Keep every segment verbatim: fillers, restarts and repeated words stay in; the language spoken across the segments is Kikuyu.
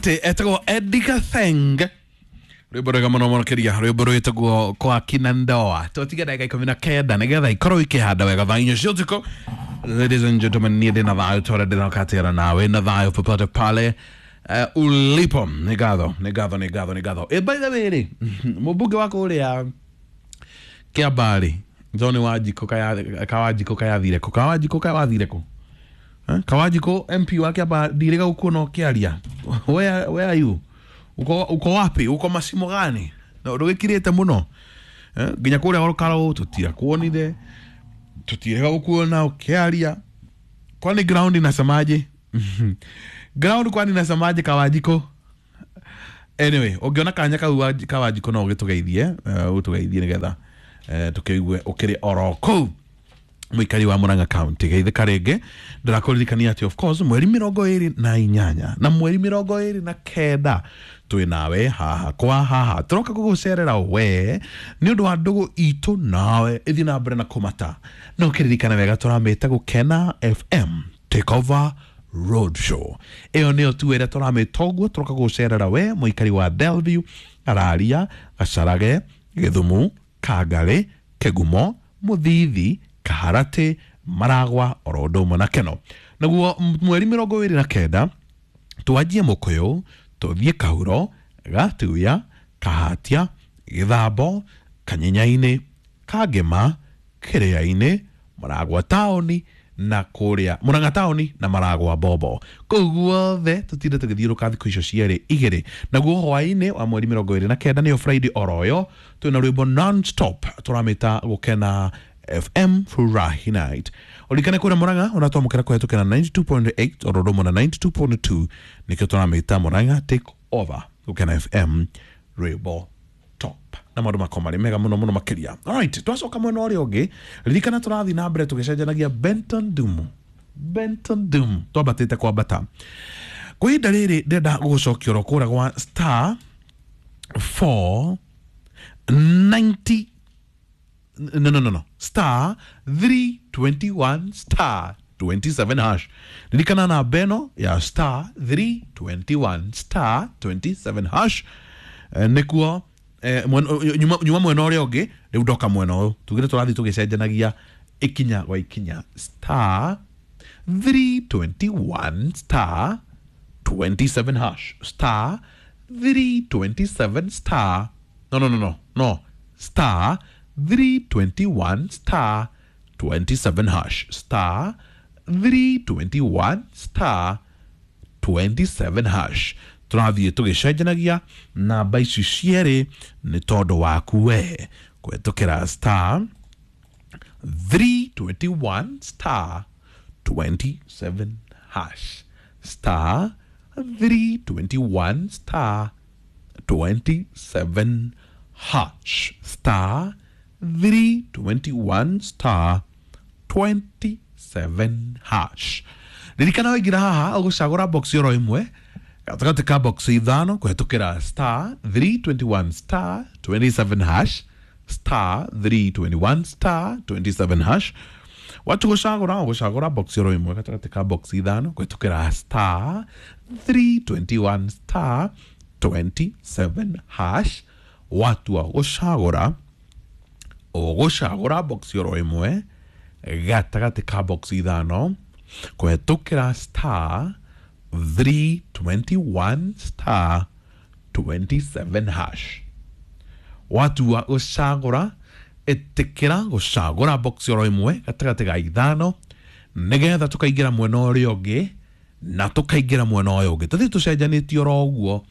Etagwo Edgar Theng, rwimbo rwega muno muno kiria, rwimbo rwitagwo kwa kina ndoa. Twatiga ndagika ikumi na kenda nigetha ikorwo ikihanda wega thaa inya cia utuku. Ladies and gentlemen, niĩ ndĩna thayũ tore ndĩrokatĩra nawe na thayũ popote pale uh, ulipo. Nĩ ngatho, nĩ ngatho, nĩ ngatho, nĩ ngatho. Eh, by the way rĩ, mũmbunge wa kũrĩa Kĩambarĩ John Wanjikũ, Kawanjikũ kayathire kũ? Kawanjikũ kawathire kũ? Eh, Kawanjikũ M P wa Kĩamba, ndirĩga gũkuona ũkĩaria. where, where are you? Uko, uko wapi? Uko macimo gani? Na ndũgĩkirĩte mũno, eh, nginya kũrĩa Olkalau tũtirakuonire, tutirega gũkuona ũkĩaria. Kwani ground inasemaje? Ground kwani inasemaje, Kawanjikũ? Anyway, ũngĩona kanya kau, Wanji- Kawanjikũ, no ũgĩtũgeithie, uh, ũtũgeithie nĩgetha uh, tũkĩigue ũkĩrĩ oro kũu mũikari wa Murang'a County. Geithĩka rĩngĩ. Ndĩrakũririkania atĩ of course mweri mĩrongo ĩrĩ na inyanya na mweri mĩrongo ĩrĩ na kenda twĩ nawe haha kwa haha, tũroka gũgũcerera we nĩ ũndũ wa ndũgũ itũ nawe ĩthiĩ na mbere na kũmata. No kĩririkane wega, tũramĩte Gũkena F M Take Over Road Show. Ĩyo nĩyo tu ĩrĩa tũramĩta ũguo. Tũroka gũcerera we mũikari wa Delview, Araria, Gacarage, Gĩthumu, Kangarĩ, Kĩgumo, Mũthithi, Kaharatĩ, Maragwa, oro ũndũ ũmwe na Keno. Naguo mweri mĩrongo ĩrĩ na kenda twanjie Mũkũyũ, tũthiĩ Kahuro, Gatuya, Kahatia, Gĩthambo, Kanyenyainĩ, Kangema, Kĩrĩa-inĩ, Maragwa taũni na kũrĩa Murang'a taũni na Maragwa Bobo. Kũu guothe tũtinde tũgĩthiũrũka thikũ icio cierĩ igĩrĩ. Naguo hwaĩ-inĩ wa mweri mĩrongo ĩrĩ na kenda, nĩyo Friday oroyo, twĩna rwĩmbo non stop tũramĩta Gũkena F M Furahi Night. Ũririkane kũrĩa Murang'a ũratwamũkĩra kũhetũkĩra ninety-two point eight oro ũndũ ũmwe na ninety-two point two. Nĩkĩo tũramĩta Murang'a Take Over Gũkena F M rwĩmbo top, na maũndũ makwa marĩ mega mũno mũno makĩria. Alright, twacoka mwena ũrĩa ũngĩ, ririkana tũrathiĩ na mbere tũgĩcenjanagia Benton Dumu, Benton Dumu, twambatĩte kwambata. Kwa ihinda rĩrĩ ndĩrenda gũgũcokia oro kũrĩa gwa star four ninety, no no no no star three twenty-one star twenty-seven hash. Ririkana namba ĩno ya star three twenty-one star twenty-seven hash. Eh, nĩkuo eh, mwen- nyuma nyuma mwena ũrĩa ũngĩ. Rĩu ndoka mwena ũyũ, tugire tũrathiĩ tũgĩcenjanagia ikinya gwa ikinya. Star three twenty-one star twenty-seven hash, star three twenty-seven star, no no no no no star three twenty-one star twenty-seven hash, star three twenty-one star twenty-seven hash. Tũrathiĩ tũgĩcenjanagia namba ici cierĩ nĩ tondũ waku we kũhetũkĩra star three twenty-one star twenty-seven hash, star three twenty-one star twenty-seven hash, star three twenty-one star twenty-seven hash. Ririkana waingĩra haha ũgũcagũra box oro ĩmwe gatagatĩ ka box ithano kũhetũkĩra star three twenty-one star twenty-seven hash, star three twenty-one star twenty-seven hash. Watu gũcagũra, ũgũcagũra box oro ĩmwe gatagatĩ ka box ithano kũhetũkĩra star three twenty-one star twenty-seven hash. Watua gũcagũra, ũgũcagũra box oro ĩmwe gatagatĩ ka box ithano kũhetũkĩra star three twenty-one star twenty-seven hash. Watua gũcagũra, ĩtĩkĩra gũcagũra box oro ĩmwe gatagatĩ ga ithano nĩgetha tũkaingĩra mwena ũrĩa ũngĩ na tũkaingĩra mwena ũyũ ũngĩ, tũthiĩ tũcenjanĩtie oro ũguo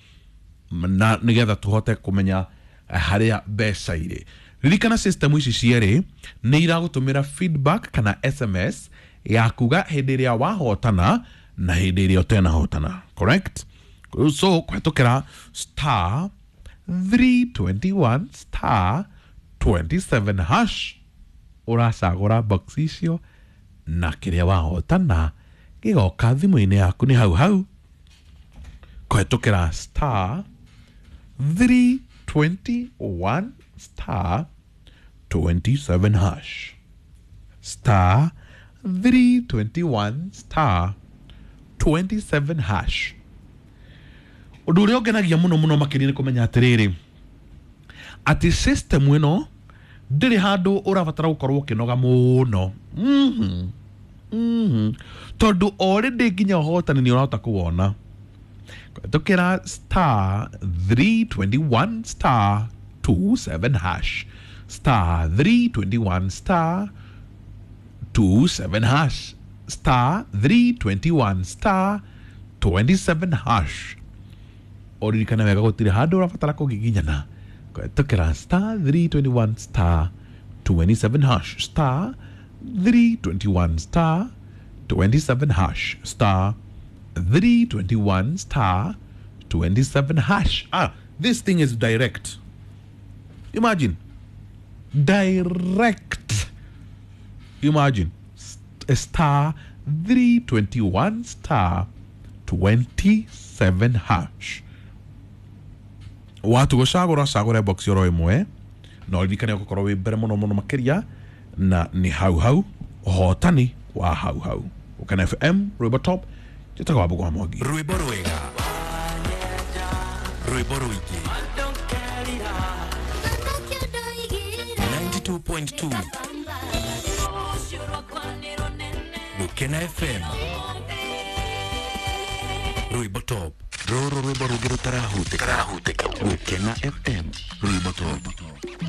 na nĩgetha tũhote kũmenya harĩa mbeca irĩ. Ririkana system ici cierĩ nĩ iragũtũmĩra feedback kana S M S ya kuga hĩndĩ ĩrĩa wahotana na hĩndĩ ĩrĩa ũtenahotana, correct? So kũhetũkĩra star three twenty-one star twenty-seven hash ũracagũra box icio na kĩrĩa wahotana gĩgoka thimũ-inĩ yaku nĩ hau hau kũhetũkĩra star three twenty-one star twenty-seven hash, star three twenty-one star twenty-seven hash. Ũndũ ũrĩa ũngenagia mũno mũno makĩria nĩ kũmenya atĩrĩrĩ, atĩ system ĩno ndĩrĩ handũ ũrabatara gũkorwo ũkĩnoga mũno. Mhm. Mhm. Tondũ already nginya ũhotani nĩ ũrahota kũwona kũhetũkĩra star three twenty-one star twenty-seven hash, star three twenty-one star twenty-seven hash, star three twenty-one star twenty-seven hash. Ũririkane wega, gũtirĩ handũ ũrabatara kũgiginyana kũhetũkĩra star three twenty-one star twenty-seven hash, star three twenty-one star twenty-seven hash, star three twenty-one star twenty-seven hash. Ah, this thing is direct. Imagine, direct. Imagine, St- star three twenty-one star twenty-seven hash. Watu gũcagũra, cagũre box oro ĩmwe, na ũririkane ũgũkorwo wĩ mbere mũno mũno makĩria, na nĩ hau hau ũhotani wa hau hau. Gũkena F M, rwĩmbo top. Njĩtagwo Wambũgũ wa Mwangi. Rwĩmbo rwega, rwĩmbo rũingĩ, ninety-two point two Gũkena F M, rwĩmbo top. Rũrũ rwĩmbo rũngĩ rũtarahutĩka. Gũkena F M, rwĩmbo top.